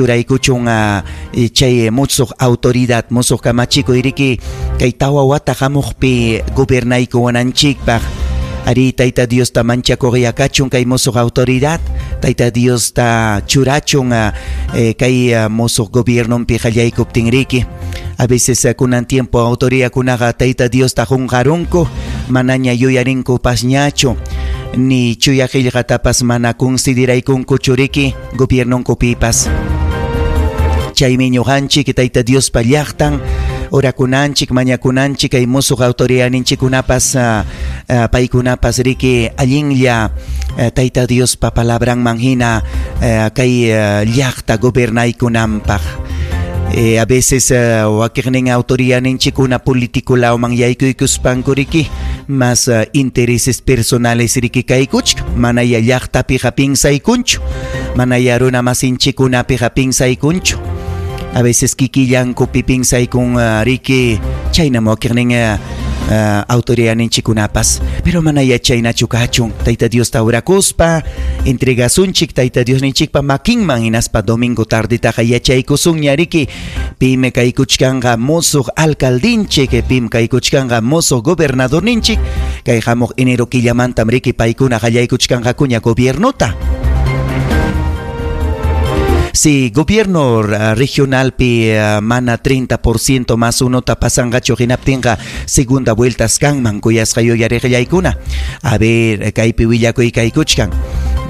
Churaykuchun chay musuq autoridad, musuq kamachikuy riki kay tawa wata hamuqpi gobernaykuwananchikpaq. Arí, Tayta Diosta manchakuqya kachun kay musuq autoridad, Tayta Diosta churachun kay musuq gobiernonpi qallaykuptin riki. A veces kunan tiempo autoridadkunaqa Tayta Diosta qunqarunku, manaña yuyarinkupas-ñachu, ni chuya qillqatapas mana consideraykunkuchu riki gobiernonkupipas. Chaymi ñuqanchik Tayta Diospa llaqtan orakunanchik, mañakunanchik kay musuq autoridadninchikkunapas paykunapas riki allinlla Tayta Diospa palabranman hina kay llaqta gobernaykunanpaq. A veces wakiqnin autoridadninchikkuna político lawman yaykuykuspanku riki más intereses personales riki kaykuchkan, manaya llaqtapiqa piensaykunchu, manaya runa masinchikkunapiqa piensaykunchu. A veces kikillankupi piensaykun riki, chaynam wakiqnin autoridadninchikkunapas. Pero manaya chaynachu kachun. Tayta Diosta orakuspa entregasunchik Tayta Diosninchikpa makinman, hinaspa domingo tardetaqa yachaykusunña riki pim kaykuchkanqa musuq alcaldinchik, pim kaykuchkanqa musuq gobernadorninchik. Kay hamuq enero killamantam riki paykuna qallaykuchkanqakuña gobiernota. Si gobierno regionalpi mana 30% más unota pasanqachu hinaptinqa segunda vueltas kanman, kuyasqa yuyariqllaykuna. A ver, kaypi willakuy kaykuchkan.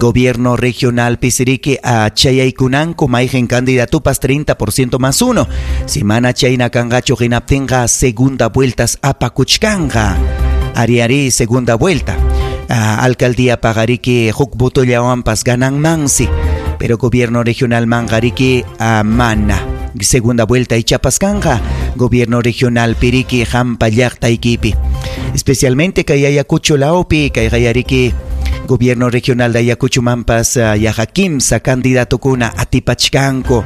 Gobierno regional pisiriki chayaykunanku mayqin candidatupas 30% más uno. Si mana chayna kanqachu hinaptinqa segunda vueltas apakuchkanqa. Ari ari segunda vuelta. Alcaldía pagariki huk votollawanpas gananmansi. Pero gobierno regional manqariki mana. Segunda vuelta ichapas kanqa gobierno regional piriki hampa llaqtaykipi. Especialmente kay Ayacucho lawpi, kay qayariki gobierno regional de Ayacucho mampas yaqa kimsa candidatukuna atipachkanku.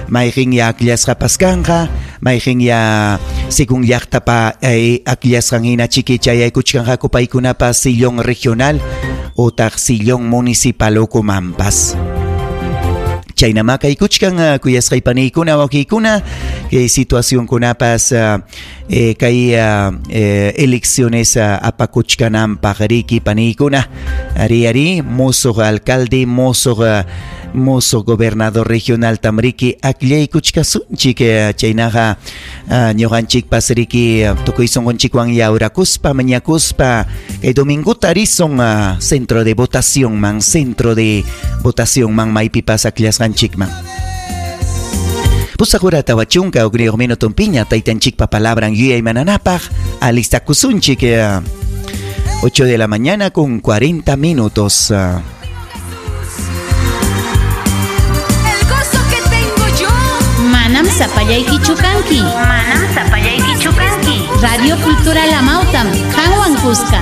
Mayqin ya akllasqapas kanqa, mayqin ya según llaqtapa akllasqan hina chiki chayaykuchkanqaku paykunapas sillón regional utaq sillón municipal ukumanpas. Chaynama kaykuchkan kuyasqay paniykuna wakiykuna kay situacionkunapas kay elecciones apakuchkananpaq riki paniykuna. Ari ari musuq alcalde, musuq gobernador regional tamriki akllaykuchkasunchik chaynaqa ñuqanchikpas riki tukuy sunqunchikwan yawrakuspa mañakuspa kay domingota risun centro de votación man, centro de votación man maypipas akllasqanchikman. Pusaq hora 40 minutonpiña taytanchikpa palabran yuyaymananapaq alistakusunchik 8 de la mañana con 40 minutos. El gozo que tengo yo. Manam sapallaykichu kanki. Manam sapallaykichu kanki. Radio Cultural Amautam, qanwan kuska.